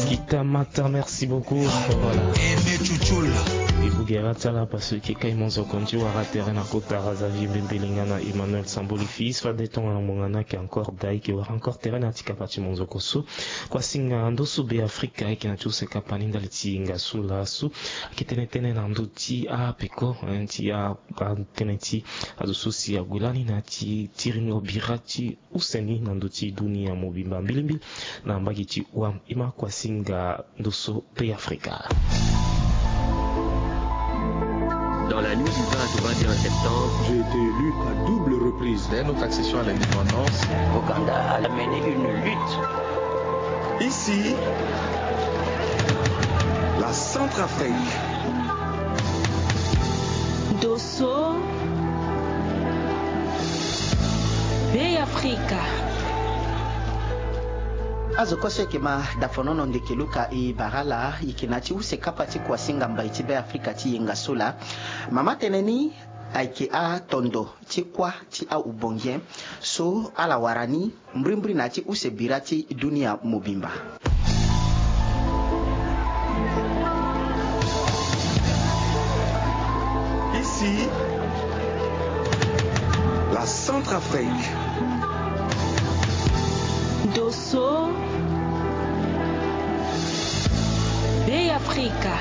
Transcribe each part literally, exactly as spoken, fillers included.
Kita mata, merci beaucoup. Voilà. Ebugera tala parce que kai monzo konti wara terrain na kota razavi bembelinga na Emmanuel Samboli fils fa de tonga na mongana ke encore dai ke wara encore terrain na tika pati monzo koso. Kwa singa ndo su be Afrika ke na ti use kapani ndali ti nga su la su. Ke tene tene na ndo ti a peko, hein, ti a, a tene ti azo su si ague lani na ti tiringo bira ti use ni na ndo ti dunia mobimba mbilimbili na mbage ti wam ima kwa singa ndo so pe Afrika. Dans la nuit du vingt au vingt et un septembre, j'ai été élu à double reprise. Dès notre accession à l'indépendance, Ouganda a mené une lutte. Ici, la Centrafrique. Dosso. Be Afrika. Azo kose ke ma dafonono ndeke luka i barala i ke na ti use kapa ti kuasinga mbai ti Be Afrika ti yenga so la. Mama tene ni ayeke atondo ti kuâ ti aubongien so ala wara ni mbrimbri na ya ti use bira ti dunia mobimba. Ici, la Centrafrique. Dosso. Be Afrika.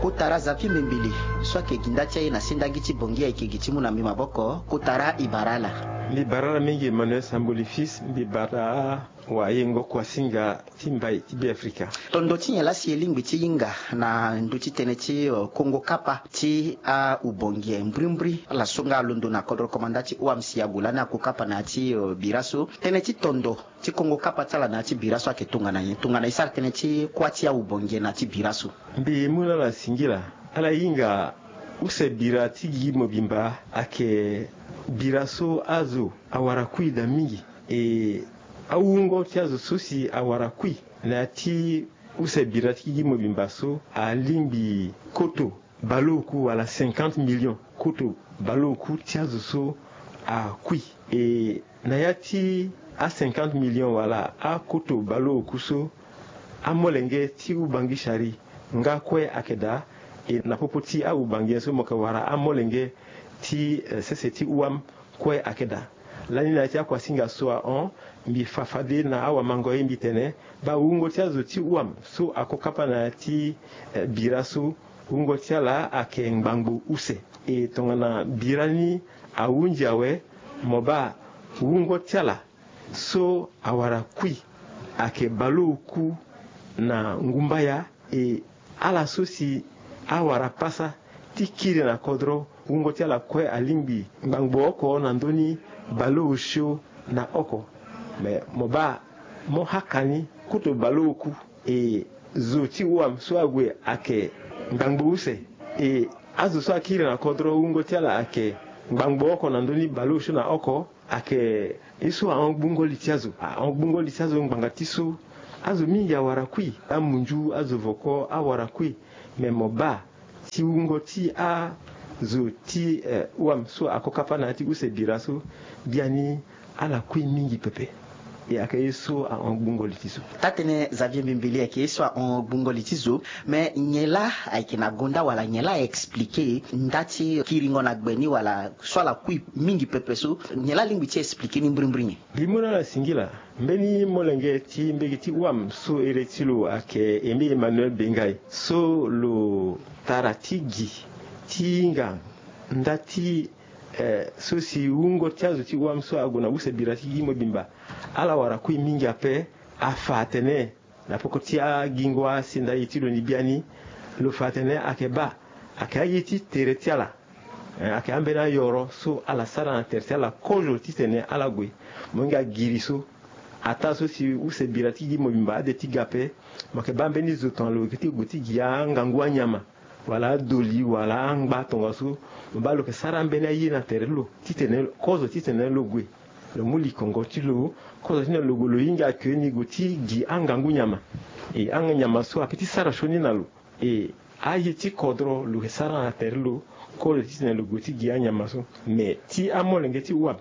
Kotara Zafi Mbimbili so ayeke gi nda ti aye na sendagi ti bongi ayeke gi ti mu na mbi maboko. Kotara i bara ala. Mbi bara ala mingi Emmanuel Samboli fils, mbi bara wayengo kuasinga ti mbai ti Be Afrika. Tondo ti nyen laa si e lingbi ti hinga na ndö ti tënë ti, eh, kongo kapa ti aubongie mbrimbri ala so nga alondo na kodro komanda ti O M C ague lani ako kapa na ya ti, eh, bira so. Tënë ti tondo ti kongo kapa ti ala na ya ti bira so ayeke tongana nyen tongana e sara tënë ti kuâ ti aubongie na ya ti bira so? Mbi mu na ala singila, ala hinga use bira ti gi mobimba ayeke bira so azo awara kui daa mingi. E awungo ti azo so si awara kui na ya ti use bira ti gi mobimba so alingbi koto baleoku wala cinquante millions. Koto baleoku ti azo so akui. E na ya ti a cinquante millions wala akoto baleoku so, amolenge ti ubangi sari nga kue ayeke daa. E na popo ti aubangi nyen so mo yeke wara amolenge ti, eh, sese ti wam kue ayeke daa. Lani na ya ti akuasinga so ahon, mbi fa fade na awamango ye mbi tene baa wungo ti azo ti wam so ako kapa na ya ti, eh, bira so, wungo ti ala ayeke ngbangbo use. E tongana bira ni ahunzi awe, mo baa wungo ti ala so awara kui ayeke baleoku na ngumbaya. E ala so si awara pasa ti kiri na kodro, wungo ti ala kue alingbi ngbangbo oko na ndö ni baleosio na oko. Me mo baa mo haka ni koto baleoku. E zo ti wam so ague ayeke ngbangbo use. E azo so akiri na kodro, wungo ti ala ayeke ngbangbo oko na ndö ni baleosio na oko. Ayeke ye so ahon gbungo li ti azo, ahon gbungo li ti azo ngbanga ti so. Azo mingi awara kui, amunzu, azo voko awara kui. Me mo baa ti wungo ti azo ti, eh, wam so ako kapa na ya ti use bira so, biani ala kui mingi pepe. E ayeke ye so ahon gbungo li ti zo. Taa-tënë Xavier Mbimbili ayeke ye so ahon gbungo li ti zo. Me nyen laa ayeke na gonda wala nyen laa a explike nda ti kiringo na gbe ni wala so ala kui mingi pepe so, nyen laa alingbi ti explike ni mbrimbri nyen? Mbi mu na ala singila, mbeni molenge ti mbege ti wam so ere ti lo ayeke Aimé Emmanuel Bengai so lo tara ti gi ti hinga nda ti, eh, so si wungo ti azo ti wam so ague na use bira ti gi mobimba ala wara kui mingi ape. Afa atene na poko ti agingo asi nda ye ti lo ni biani, lo fa atene ayeke baa ayeke aye ti tere ti ala. Eh, ayeke ambeni ayoro so ala sara na tere ti ala kozo titene ala gue. Mo hinga giri so, ataa so si use bira ti gi mobimba ade ti ga ape, mo yeke baa mbeni zo tongana lo yeke ti gue ti gi angangu anyama wala adoli wala angba tongaso, mo baa lo yeke sara ambeni aye na tere ti lo titene kozo titene lo gue. Lo mu likongo ti lo kozo ti lo gue, lo hinga ke ni gue ti gi angangu nyama. E anga nyama so ape ti sara sioni na lo. E aye ti kodro lo yeke sara na tere ti lo kozo titene lo gue ti gi anyama so. Me ti amolenge ti wam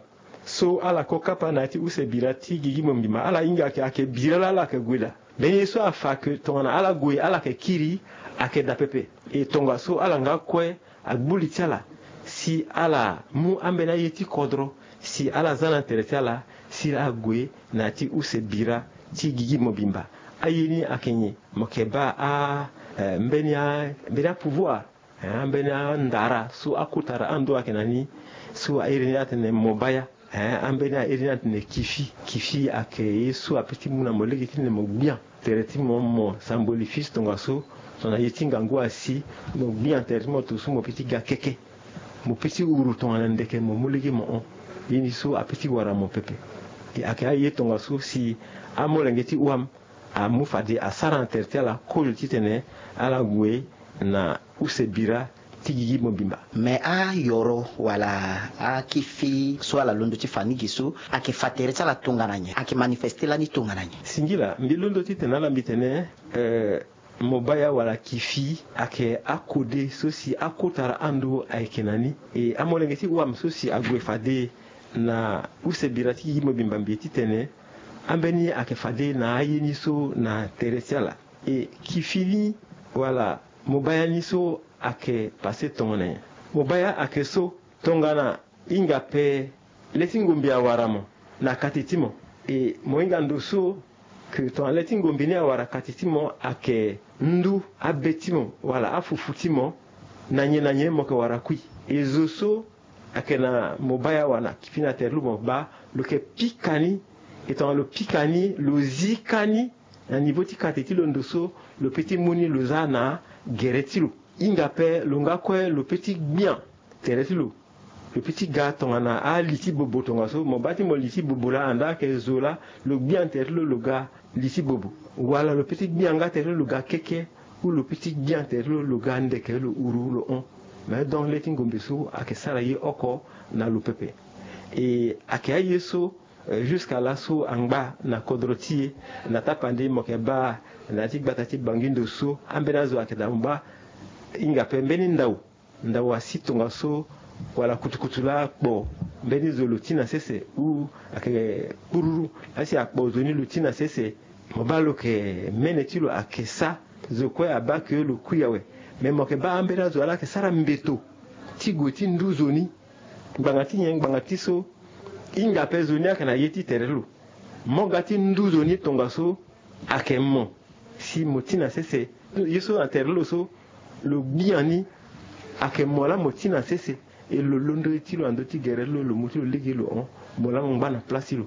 so ala ko kapa na ya ti use bira ti gigi mobimba, ala hinga ayeke, ayeke bira laa ala yeke gue daa. Mbeni ye so afa ayeke tongana ala gue ala yeke kiri, ayeke daa pepe. E tongaso ala nga kue agbu li ti ala si ala mu ambeni aye ti kodro si ala za na tere ti ala si ala gue na ya ti use bira ti gigi mobimba. Aye ni ayeke nyen? Mo yeke baa a, eh, mbeni a, mbeni apouvoir, eh, ambeni andara so akotara ando ayeke na ni, so airi ni atene mobaya. Eh, ambeni airi ni atene kifi. Kifi ayeke ye so apeut ti mu na mo lege ti tene mo gbia tere ti mo, mo samboli fils tongaso, tongana ye ti ngangu asi, mo gbia tere ti mo tongaso, mo peut ti ga keke, mo peut ti uru tongana ndeke, mo mu lege mo hon. Ye ni so apeut ti wara mo pepe. E ayeke aye tongaso si amolenge ti wam amu fade asara na tere ti ala kozo titene ala gue na use bira ti gigi mobimba. Me ayoro wala akifi so ala londo ti fa ni gi so, ayeke fa tere ti ala tongana nyen? Ayeke manifeste lani tongana nyen? Singila, mbi londo titene ala mbi tene, eh, mobaya wala kifi ayeke akode so si akotara ando ayeke na ni. E amolenge ti wam so si ague fade na use bira ti gigi mobimba, mbi ye titene ambeni ayeke fade na aye ni so na tere ti ala. E kifi ni wala mobaya ni so ayeke pase tongana nyen? Mobaya ayeke so tongana hinga ape le ti ngombe awara mo na kati ti mo. E mo hinga ndo so ke tongana le ti ngombe ni awara kati ti mo, ayeke ndu abe ti mo wala afufu ti mo na nyen na nyen mo yeke wara kui. E zo so ayeke na mobaya wala kifi na tere ti lo, mo baa lo yeke pika ni. E tongana lo pika ni, lo zi ka ni na nivo ti kate ti lo, ndo so lo peut ti mu ni lo za na gere ti lo. Hinga ape lo nga kue lo peut ti gbia tere ti lo. Lo peut ti ga tongana ali ti bobo tongaso, mo baa ti mo li ti bobo laa, anda ayeke zo laa, lo gbia tere ti lo, lo ga li ti bobo. Wala lo peut ti gbia nga tere ti lo, lo ga keke, ou lo peut ti gbia tere ti lo, lo ga ndeke, lo uru, lo hon. Mais donc le ti ngombe so ayeke sara ye oko na lo pepe. E ayeke aye so, euh, jusqu'à laso angba na kodro ti e, na tapande mo yeke baa na ya ti gbata ti Bangi ndo so, ambeni azo ayeke daa, mo baa hinga ape mbeni ndau, ndau asi tongaso, wala kutukutu laa akpo mbeni zo lo ti na sese, ou ayeke kpururu, asi akpo zo ni lo ti na sese, mo baa lo yeke mene ti lo ayeke sa, zo kue abaa ke lo kui awe. Mais mo yeke baa ambeni azo ala yeke sara mbeto ti gue ti ndu zo ni. Ngbanga ti nyen? Ngbanga ti so hinga ape zo ni ayeke na ye ti tere ti lo. Mo ga ti ndu zo ni tongaso ayeke mo si mo ti na sese. Ye so na tere ti lo so lo gbia ni ayeke mo laa mo ti na sese. E lo londo ye ti lo na ndö ti gere ti lo, lo mu ti lo lege lo hon, mo laa mo ngba na place ti lo.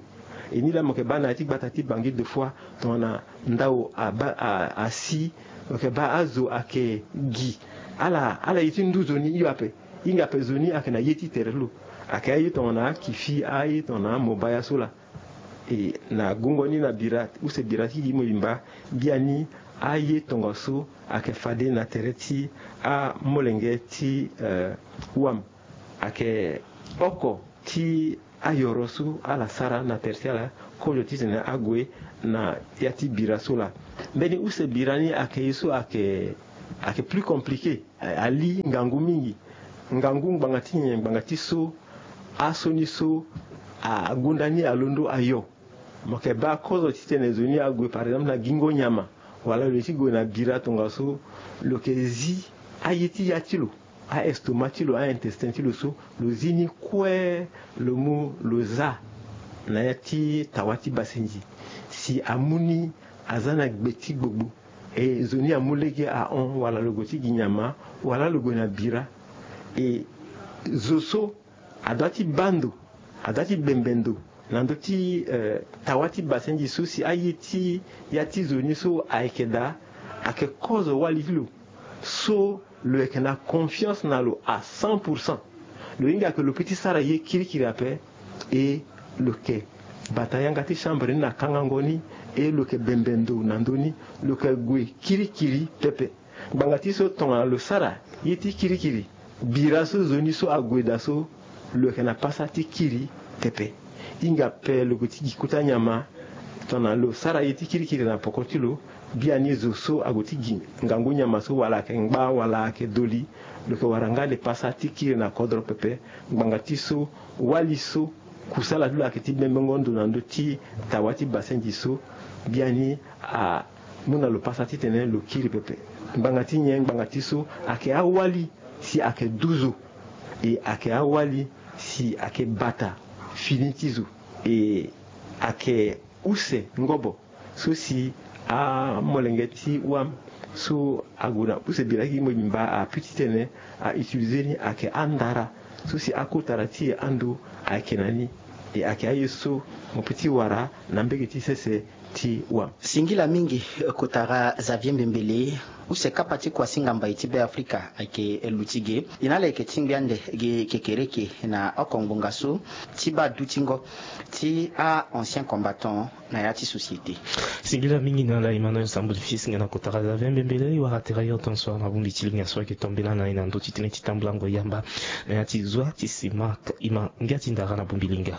E ni laa mo yeke baa na ya ti gbata ti Bangi deux fois, tongana ndau abaa, a, asi, mo yeke baa azo ayeke gi. Ala, ala ye ti ndu zo ni hio ape. Hinga ape zo ni ayeke na ye ti tere ti lo. Ayeke aye tongana akifi, aye tongana amobaya so laa. E na gongo ni na bira, use bira ti gigi mobimba, biani aye tongaso ayeke fade na tere ti amolenge ti, eh, wam. Ayeke oko ti ayoro so ala sara na tere ti ala kozo titene ague na ya ti bira so laa. Mbeni use bira ni ayeke ye so ayeke, ayeke plus compliqué. Ali ngangu mingi. Ngangu ngbanga ti nyen? Ngbanga ti so asioni so agonda ni alondo ayo. Mo yeke baa kozo titene zo ni ague, par exemple, na gingo nyama, wala lo ye ti gue na bira tongaso, lo yeke zi aye ti ya ti lo, a-estomac ti lo, a-intestin ti lo so, lo zi ni kue, lo mu lo za na ya ti tawa ti basenzi. Si amu ni aza na gbe ti gbogbo, e zo ni amu lege ahon, wala lo gue ti gi nyama, wala lo gue na bira. E zo so adua ti baa ndo, adua ti bembe ndo na ndö ti, eh, tawa ti basenzi so, si aye ti ya ti zo ni so ayeke daa, ayeke kozo wali ti lo so lo yeke na confiance na lo à cent pour cent. Lo hinga ayeke lo peut ti sara ye kirikiri ape, e lo yeke bata yanga ti chambre ni na kangango ni, e lo yeke bembe ndo na ndö ni, lo yeke gue kirikiri pepe. Ngbanga ti so tongana lo sara ye ti kirikiri, bira so zo ni so ague daa so, lo yeke na pasa ti kiri pepe. Hinga ape lo gue ti gi kota nyama, tongana lo sara ye ti kirikiri na poko ti lo, biani zo so ague ti gi ngangu nyama so, wala ayeke ngba, wala ayeke doli, lo yeke wara nga le pasa ti kiri na kodro pepe. Ngbanga ti so wali so Kusala ti lo ayeke ti bembengo ndo na ndö ti tawa ti basenzi so biani amu na lo pasa titene lo kiri pepe. Ngbanga ti nyen? Ngbanga ti so ayeke awali si ayeke duzu, e ayeke awali si ayeke bata fini ti zo, e ayeke use ngobo so si amolenge ti wam so ague na use bira ti mo bimba apu titene a utiliser ni ayeke andara so si akotara ti e ando ayeke na ni. E ayeke aye so mo pe ti wara na mbege ti sese ti wam. Singila mingi, kotara Xavier Mbembele. Use kapa ti kuasinga mbai ti Beafrika ayeke luti ge. E na ala yeke ti ngbia nde ge kekereke na oko ngbonga so ti baa dutingo ti a-ancien combattant na ya ti société. Singila mingi na ala, e ma na yo sambuli fils nga na kotara Xavier Mbembele. E wara tere ailleurs tant soir na bongbi ti linga so ayeke tombela na e na ndö ti tënë ti tambulango yamba na ya ti zwa ti sima. E ma ngia ti ndara na bongbi linga.